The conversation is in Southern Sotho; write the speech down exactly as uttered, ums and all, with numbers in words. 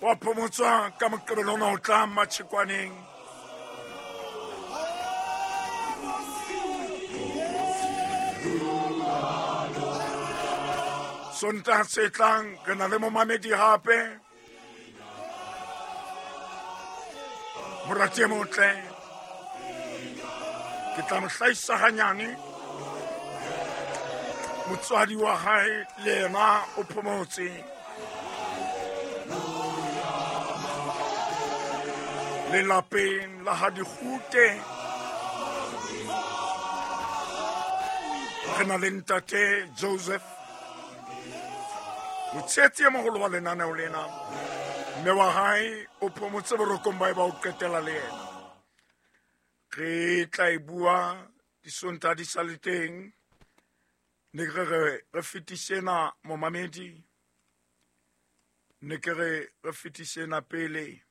Wa phomotswa ka Moqebelo ona o tlang Matjhekwaneng. Sontaha se tlang re na le momamedi hape. Morati e motle. Ke tla mo hlahisa hanyane. Motswadi wa hae le yena o phomotse. Lelapeng la ha Dikgute re na le ntate Joseph, motshehetsi e moholo wa lenaneo lena. Mme wa hae o phomotse borokong ba e ba o qetela le yena. Re tla e bua disontaha di sa le teng. Ne ke re re fetise ena momamedi, ne ke re re fetise ena pele.